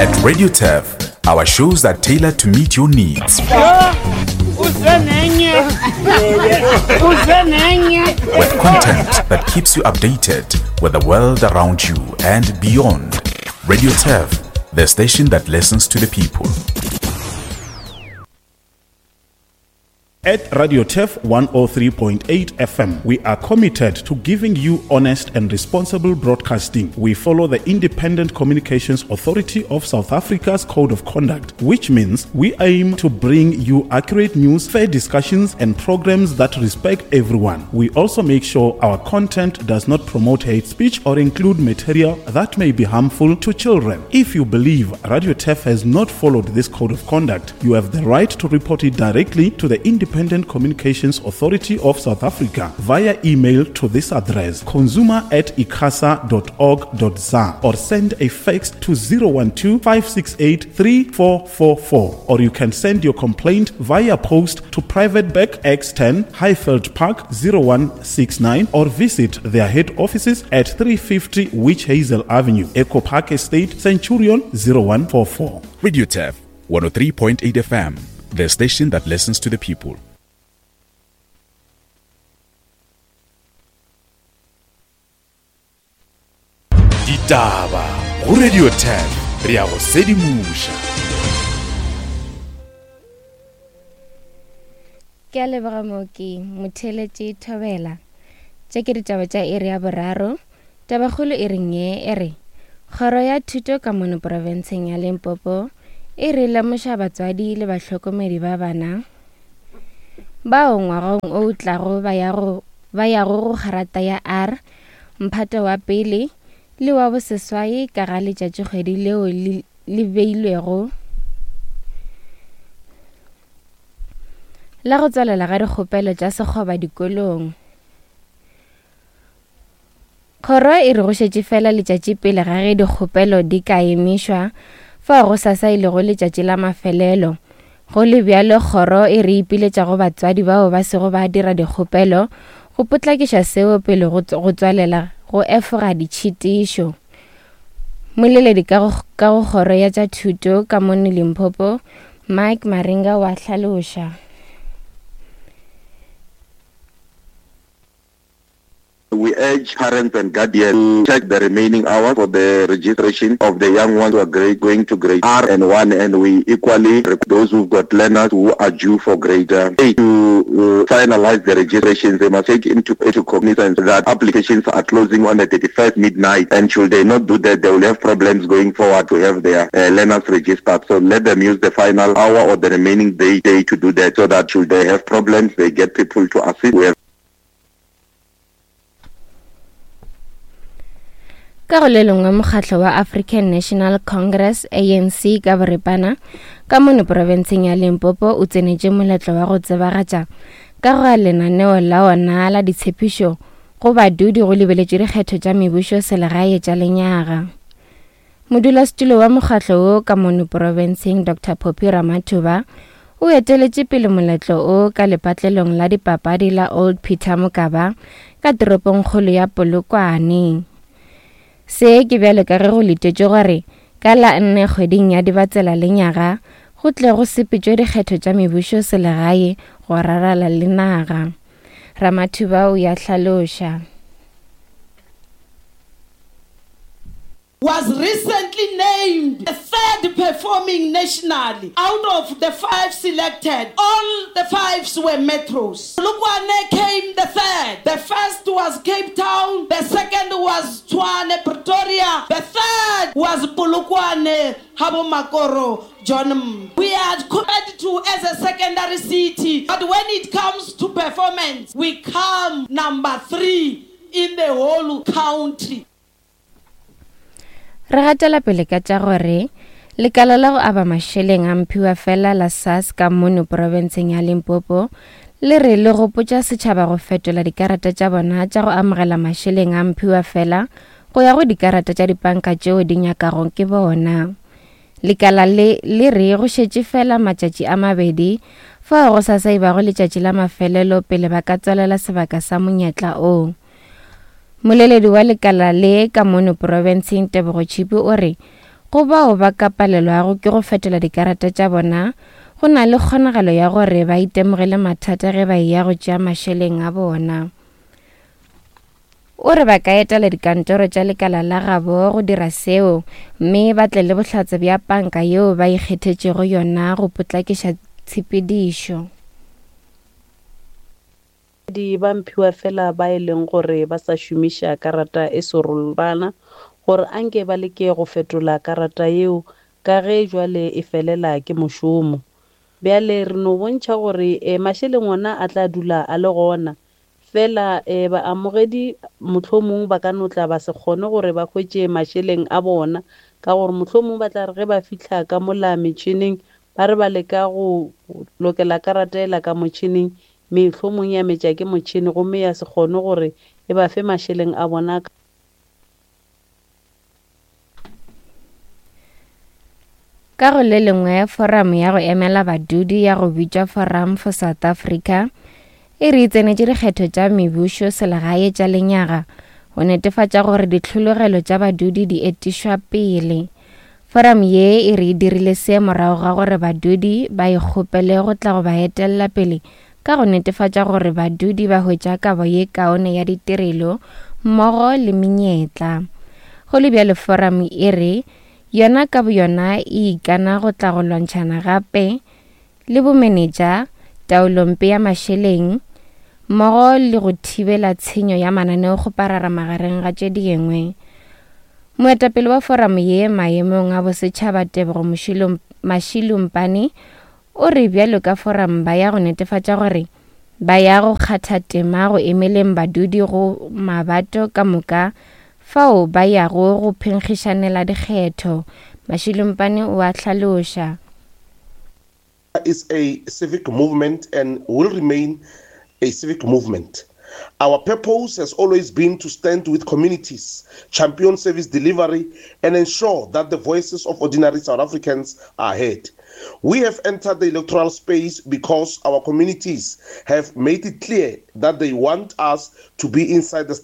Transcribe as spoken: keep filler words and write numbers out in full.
At Radio Turf, our shows are tailored to meet your needs. With content that keeps you updated with the world around you and beyond. Radio Turf, the station that listens to the people. At Radio Turf one oh three point eight F M, we are committed to giving you honest and responsible broadcasting. We follow the Independent Communications Authority of South Africa's Code of Conduct, which means we aim to bring you accurate news, fair discussions, and programs that respect everyone. We also make sure our content does not promote hate speech or include material that may be harmful to children. If you believe Radio Turf has not followed this Code of Conduct, you have the right to report it directly to the Independent Communications Authority of South Africa via email to this address, consumer at icasa dot org dot za, or send a fax to zero one two, five six eight, three four four four, or you can send your complaint via post to Private Bag X ten, Highveld Park zero one six nine, or visit their head offices at three fifty Witch Hazel Avenue, Echo Park Estate, Centurion zero one four four. Radio Turf one oh three point eight F M, the station that listens to the people. Ditaba go Radio Turf, re a go sedimoša. Ke a leboga mooki Motheletši Thobela. Tše ke ditaba tša iri ya boraro. Tabakgolo e reng ye e re Kgoro ya Thuto ka mono profenseng ya Limpopo e re lemoša batswadi le bahlokomedi ba bana bao ngwageng o tlago ba yago ba yago go kgarata ya R mphato wa pele le wa boseswai ka ga letšatšikgwedi leo le, le beilwego la go tswalela ga dikgopelo tša sekgoba dikolong. Kgoro e re go šetše fela letšatši pele ga ge dikgopelo di ka emišwa, fao go sasa e lego letšatši la mafelelo. Go le bjalo, kgoro e re ipiletša go batswadi bao ba sego ba dira dikgopelo go potlakiša seo pele go tswalela go efoga ditšhitišo. Moleledi ka go ka go kgoro ya tša thuto ka mono Limpopo, Mike Maringa wa hlaloša. We urge parents and guardians to check the remaining hours for the registration of the young ones who are grade, going to grade R and one, and we equally those who've got learners who are due for grade eight to uh, finalize the registrations. They must take into, into cognizance that applications are closing on the thirty-first midnight, and should they not do that, they will have problems going forward to have their uh, learners registered. So let them use the final hour or the remaining day, day to do that, so that should they have problems, they get people to assist. We have Ka go le lengwe mokgatlo wa African National Congress A N C ka boripana ka mono profenseng ya Limpopo o tsenetše moletlo wa go tsebagatša ka go lenaneo la ona la ditshepišo go badudi go lebeletšwe dikgetho tša mebušo selegae tša lenyaga. Modulasetulo wa mokgatlo wo ka mono profenseng Doctor Phophi Ramathuba o eteletše pele moletlo o ka lepatlelong la dipapadi la Old Peter Mokaba ka toropongkgolo ya Polokwane. Se ke bjalo ka ge go letetšwe gore ka la nne kgweding ya Dibatsela lenyaga go tle go sepetšwe dikgetho tša mebušo selegae go rarala le naga. Ramathuba o ya hlaloša. Was recently named the third performing nationally out of the five selected. All the fives were metros. Polokwane came the third. The first was Cape Town. The second was Tshwane, Pretoria. The third was Polokwane, Habomakoro, John. We are compared to as a secondary city, but when it comes to performance, we come number three in the whole country. Re gatela pele ka tša gore lekala la go aba mašeleng a mphiwa fela la S A S ka mono profenseng ya Limpopo le re le gopotša setšhaba go fetola dikarata tša bona tša go amogela mašeleng a mphiwa fela go ya go dikarata tša dipanka tšeo di nyakago ke bona. Lekala le le re go šetše fela matšatši a mabedi fao go sasa e bago letšatši la mafelelo pele ba ka tswalela sebaka sa monyetla o. Moleledi wa lekala le ka mono profenseng Tebogo Chipi o re go Go bao ba ka palelwago ke go fetola dikarata tša bona, go na le kgonagalo ya gore ba itemogele mathata ge ba eya go tšea mašeleng a bona. O re ba ka etela dikantoro tša lekala la gabo go dira seo, mme ba tle le bohlatse bja panka yeo ba ikgethetšego yona go potlakiša tshepedišo. Di ba mphiwa fela ba e leng gore ba sa šomiša karata e serolwana gore anke ba leke go fetola karata yeo ka ge jwale e felela ke mošomo. Bjale re no bontšha gore eh, mašeleng ona a tla dula a le gona fela eh, baamogedi mohlomong ba ka no tla ba se kgone gore ba hwetše mašeleng a bona ka gore mohlomong ba tla re ge ba fihla ka mola metšhineng ba re ba leka go lokela karata ela ka motšhineng mehlomong ya metša ke motšhini gomme ya se kgone gore e ba fe mašeleng a bona. Ka go le lengwe, forum ya go emela badudi ya go bitšwa Forum for South Africa e re e tsenetše dikgetho tša mebušo selegae tša lenyaga go netefatša gore ditlhologelo tša badudi di etišwa pele. Forum ye e re e dirile se morago ga gore badudi ba ikgopele go tla go ba etella pele ka go netefatša gore badudi ba hwetša kabo ye kaone ya ditirelo mmogo le menyetla. Go le bjalo, forum e re yona ka boyona e ikana go tla go lwantšhana gape le bomenetša, taolompe ya mašeleng mmogo le go thibela tshenyo ya mananeokgoparara magareng ga tše dingwe. Moetapele wa forum ye maemong a bosetšhaba Tebogo Mashilumpane o re bjalo ka forum ba ya go netefatša gore ba ya go kgatha tema go emeleng badudi go mabato ka moka fao ba yago go phenkgišanela dikgetho. Mashilumpane o a hlaloša. Is a civic movement and will remain a civic movement. Our purpose has always been to stand with communities, champion service delivery, and ensure that the voices of ordinary South Africans are heard. We have entered the electoral space because our communities have made it clear that they want us to be inside the